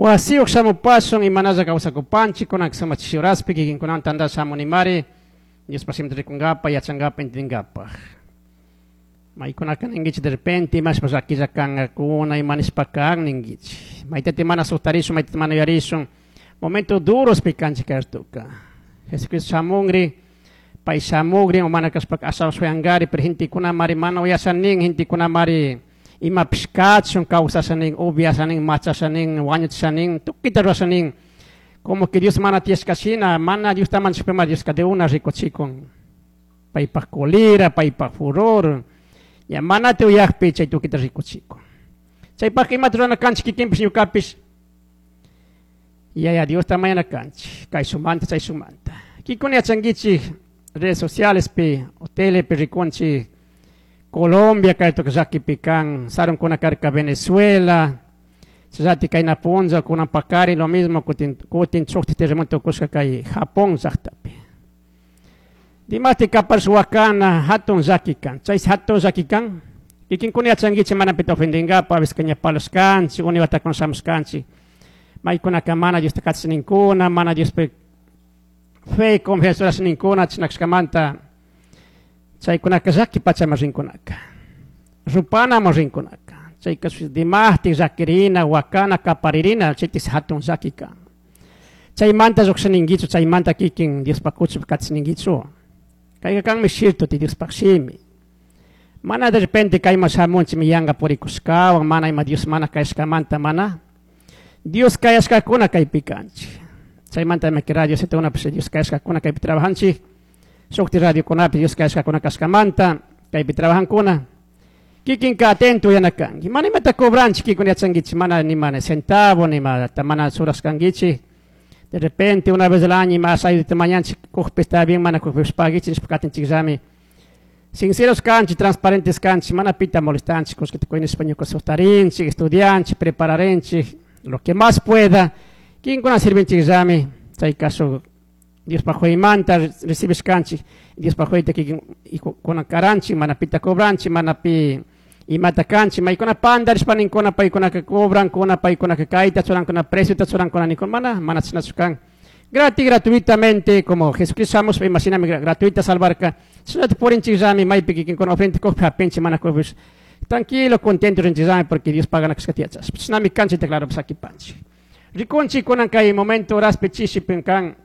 Wasiyuq shamupashun imanalla kawsakupanchik kunan sumak chishi horaspi kikinkunawan tandasha shamunimari Diospa shimita rikunkapa yachankapa entendingapaj. Maykunaka ninkichik de repente imashpa llakilla kankakuna ima nishpa kan ninkichik. Maytata mana sustarishun maytata mana yuyarishun momento durospi kanchik kay ratuka. Jesucristo shamunri pay shamugrin o mana kashpaka ashawan shuyankari pero gentekunamari mana uyasha nin gentekunamari imapish kachun kawsasha nin upiasha nin machasha nin wañuchisha nin tukuyta rurasha nin como que Dios mana tiyashka shina mana Diosta manchashpima Dioska de una rikuchikun paypak colera paypak furor ña manata uyakpi chay tukuyta rikuchikun chaypaka imata rurana kanchik kikinpish ñukapish Yaya Diosta mañana kanchik kayshumanta chayshumanta kikuna yachankichik redes socialespi o telepi rikunchik Colombia kaytuka llakipi kan sarunkuna karka Venezuela chayllatik kayna punlla kunan pakari lo mismo kutin kutin shuktik terremoto tukushka kay Japón llaktapi dimashtik kaparish wakana hatun llaki kan chay hatun llaki kan kikinkuna yachankichik mana pita ofendinkapak a veces ña parlashkanchik unay watakuna shamushkanchik maykunaka mana Diosta katish ninkuna mana Diospi fe confianza churash ninkuna chashna kashkamanta chaykunaka llaki pachaman rinkunaka rupanaman rinkunaka chayka dimashtik llakirina wakana kaparirina chaytik hatun llaki kan chaymanta llukshininkichu chaymanta kikin Diospak kuchupi katisninkichu kayka kanmi cierto Diospak shimi mana de repente kayman shamunchik yanka purikushkawan mana ima Dios mana kayashkamanta mana Dios kayashkakuna kaypi kanchik chaymanta imaki radio Z Dios kayashkakuna kaypi trabajanchik shukti radiokunapi Dios kayashkakuna kashkamanta kaypi trabajankuna kikinka atento uyana kanki mana imata cobranchik kikuna yachankichik mana ni mana centavo ni imata mana churashkankichik de repente una vez al año ima ayudita mañanchik kukpi está bien mana kukpipish paguichik nishpa katinchikllami sinceros kanchik transparentes kanchik mana pita molestanchik kullkita kuy nishpa ñuka sustarinchik estudianchik prepararinchik lo que más pueda kinkuna sirvinchikllami chay caso Diospak huymanta recibishkanchik Diospak huyta kikin kunan karanchik mana pita cobranchik mana pi imata kanchik maykuna pandarishpa ninkuna paykunaka cobrankuna paykunaka kayta churankuna preciota churankuna ninkuna mana mana chashnachu kan gratis gratuitamente como Jesucristo shamushpa imashinami gratuita salvarka chashnata purinchikllami maypi kikinkuna ofrenda kukpi japinchik mana kukpish tranquilo contento rinchikllami porque Dios pagana kashkata yachashpa chashnami kanchik claro sakipanchik rikunchik kunan kay momento horaspi chishipi kan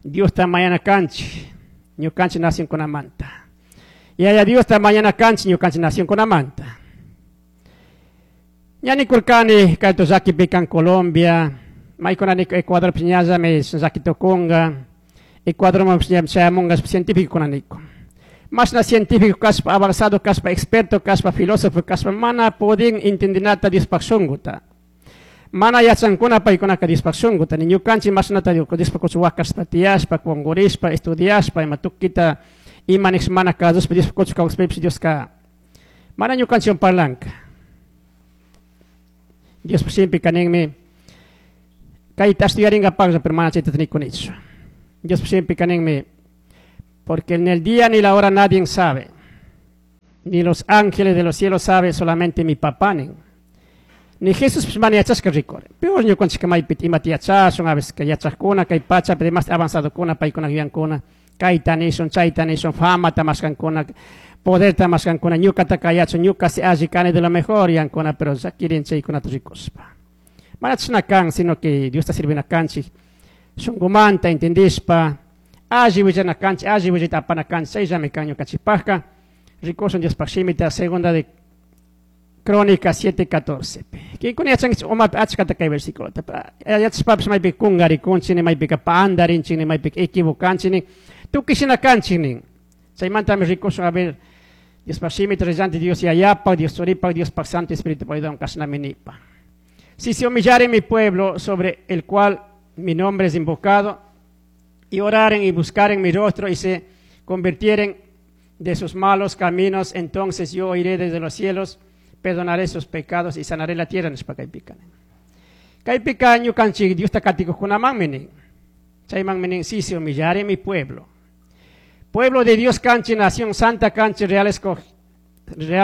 Diosta mañana kanchik ñukanchik nacionkunamanta Yaya Diosta mañana kanchik ñukanchik nacionkunamanta ña nikurkani kayto llakipi kan Colombia maykuna Ecuadorpish ñallami llaki tukunka Ecuadormanpish ñami chayamunka científicokuna nikun mashna científico kashpa avanzado kashpa experto kashpa filósofo kashpa mana pudin entendinata Diospak shunkuta mana yachankuna paykunaka Diospak shunkuta ni ñukanchik mashnata Diospak kuchu wakashpa tiyashpa kunkurishpa estudiashpa ima tukita ima nish mana kasushpa Diospak kuchu kawsashpapish Dioska mana ñukanchikwan parlanka Diospak shimipika ninmi kayta estudiarinkapaklla pero mana chayta nikunichu Diospak shimipika ninmi porque en el día ni la hora nadie sabe ni los ángeles de los cielos sabe solamente mi papá nin ni Jesús mana yachashka rikurin peor ñukanchikka maypi imata yachashun a veces yachakuna kay pachapi demás avanzadokuna paykuna yuyankuna kayta nishun chayta nishun famata mashkankuna poderta mashkankuna ñukata kayachun ñuka si alli kani de lo mejor yuyankuna pero llakirin chaykunata rikushpa mana chashna kan sino que Diosta sirvina kanchik shunkumanta entendishpa alli willana kanchik alli willayta apana kanchik chayllami kan ñukanchikpakka rikushun Diospaj shimita Segunda de Crónica 7:14. Kinkuna yachankichik umapi achkata kay versículota. Yachashpapish maypi kunkarikunchik maypika pandarinchik maypika equivocanchik tukuy shina kanchik nin. Chaymantami rikushun a ver Diospaj shimita rellanti Dios Yayapak, Dios Churipak, Diospaj Santo Espíritu ayudawan kashnami nipa. Si se humillare mi pueblo sobre el cual mi nombre es invocado, y oraren y buscaren mi rostro y se convirtieren de sus malos caminos, entonces yo oiré desde los cielos, perdonaré sus pecados y sanaré la tierra. Nishpa kaypika nin. Kaypika ñukanchik Diosta katikuqkunamanmi nin. Chaymanmi nin, si se humillare mi pueblo. Pueblo de Dios kanchik, nación santa kanchik, real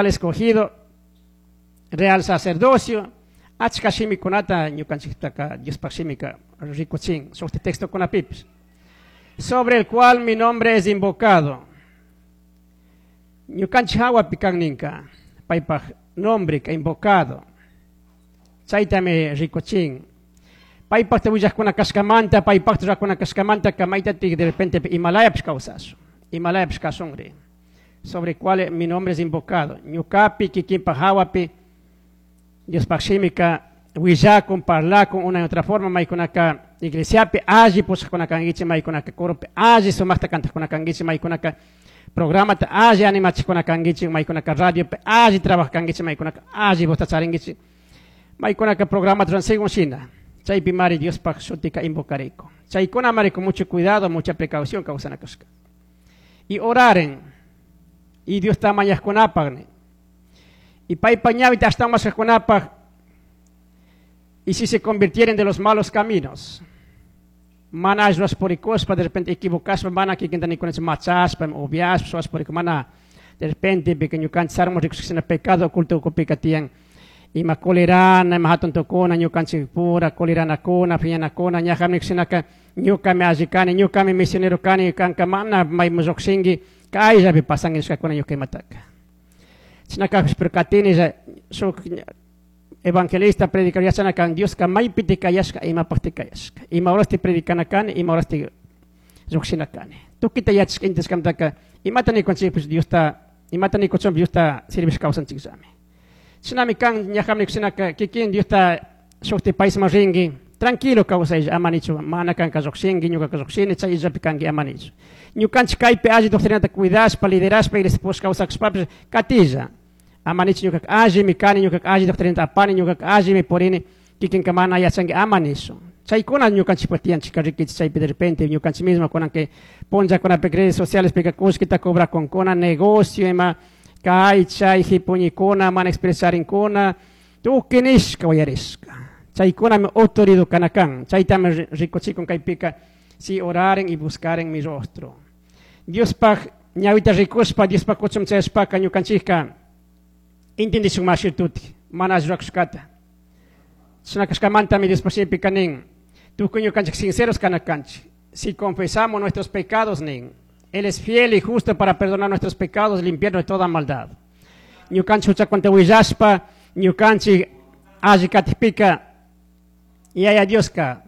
escogido, real sacerdocio. Achka shimikunata ñukanchiktaka Diospaj shimika rikuchin shukti textokunapipish. Sobre el cual mi nombre es invocado. Ñukanchik hawapi kan ninka paypaj nombre ka invocado. Chaytami rikuchin. Paypajta willajkuna kashkamanta, paypajta rurakuna kashkamanta kamaytatik de repente imalayapish kawsashun, imalayapish kashunri. Sobre cual mi nombre es invocado. Ñukapi kikinpaj hawapi Diospaj shimika willakun, parlakun una y otra forma maykunaka iglesiapi alli pushakuna kankichik, maykunaka coropi alli sumaqta kantakuna kankichik, maykunaka programata alli animachikuna kankichik, maykunaka radiopi alli trabaj kankichik, maykunaka alli vozta charinkichik, maykunaka programata ruran según shina. Chaypi mari Diospaj shutika invocariko. Chaykuna mari con mucho cuidado, mucha precaución kawsana kashka. Y oraren. Y Dios ta mañajkunapaj ni. Y paypa ñawita ashtawan mashkajkunapaj. Y si se convirtieren de los malos caminos, mana ruras purikuspa, de repente equivocaspa, mana kikinta nikunachik machaspa, upiaspa, suwaspa puriku, mana de repente pika ñukanchik sarmos rikushkashina pecado oculto ukupika tiyan, ima colerana, ima hatun tukuna, ñukanchik pura, coleranakuna, phiñanakuna, ñajami nikushinaka, ñukami alli kani, ñukami misionero kani, kanka mana mayman llukshinki, kayllapi pasanki nishkakuna ñuka imataka. Chashna kajpish, pero katini shuk evangelista predicador yachana kan, Dioska maypi kayashka, imapajti kayashka. Ima horasti predicana kani, ima horasti llukshina kani. Tukita yachashka intishkamantaka, imata nikunchikpish Diosta, imata nikuchunpish Diosta sirvish kawsanchikllami. Shinami kan ñajami nikushinaka, kikin Diosta shukti paisman rinki, tranquilo kawsaylla, ama nichu, mana kanka llukshinki, ñukaka llukshini, chayllapi kanki, ama nichu. Ñukanchik kaypi alli doctrinata cuidashpa, liderashpa, iglesia push kawsakushpapish katilla. Ama nichu ñukaka allimi kani, ñukaka alli doctrinata apani, ñukaka allimi purini, kikinka mana yachanki, ama nichu. Chaykuna ñukanchikpa tiyanchik rikichik chaypi de repente ñukanchik mismo kunan que punllakunapi redes sociales pika kullkita cobrakunkuna, negocio ima kay chay hipuñikuna, mana expresarinkuna, tukuy nishka uyarishka. Chaykunami autoridad kana kan, chaytami rikuchikun kaypika, si oraren y buscaren mi rostro. Diospaj ñawita rikushpa, Diospaj kuchum chayashpaka ñukanchikka intendishun mashirtuti, mana rurakushkata. Chashna kashkamantami Diospaj shimipika nin, tukuy ñukanchik sinceros kana kanchik. Si confesamos nuestros pecados, nin, Él es fiel y justo para perdonar nuestros pecados y limpiarnos de toda maldad. Ñukanchik huchakunata willashpa, ñukanchik alli katipika, Yaya Dioska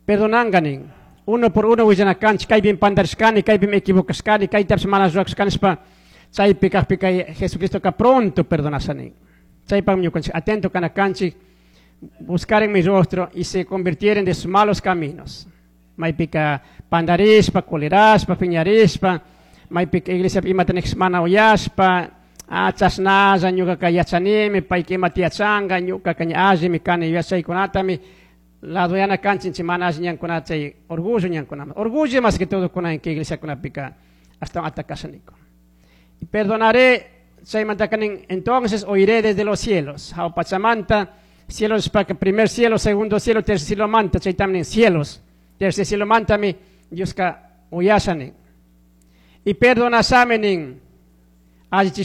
perdonanga nin. Uno por uno willanakanchik, kaypim pandarishkani, kaypim equivocashkani, kaytapish mana rurashkanishpa, chaypi kajpika Jesucristoka pronto perdonasha nin. Chaypaqmi ñukanchik atento kanakanchik, buscaren mi rostro y se convirtieren de sus malos caminos. Maypika pandarishpa, colerashpa, piñarishpa, maypika iglesia imata niqsh mana uyashpa, chashnalla ñukaka yachanimi, payka imata yachanka, ñukaka ña allimi kani yachaykunatami, ladoyana kanchinchik mana alli ñankunata, chay orgullo ñankunama. Orgullo más que todo kunan que iglesiakunapika ashtawan atacasha niko. Y perdonaré, chaymantaka nin, entonces oiré desde los cielos. Jawpachamanta, cielos pa que primer cielo, segundo cielo, tercer cielo manta, chaytam nin cielos. Tercer cielo mantami, Dioska uyasha nin. Y perdonasami nin, allichishkata.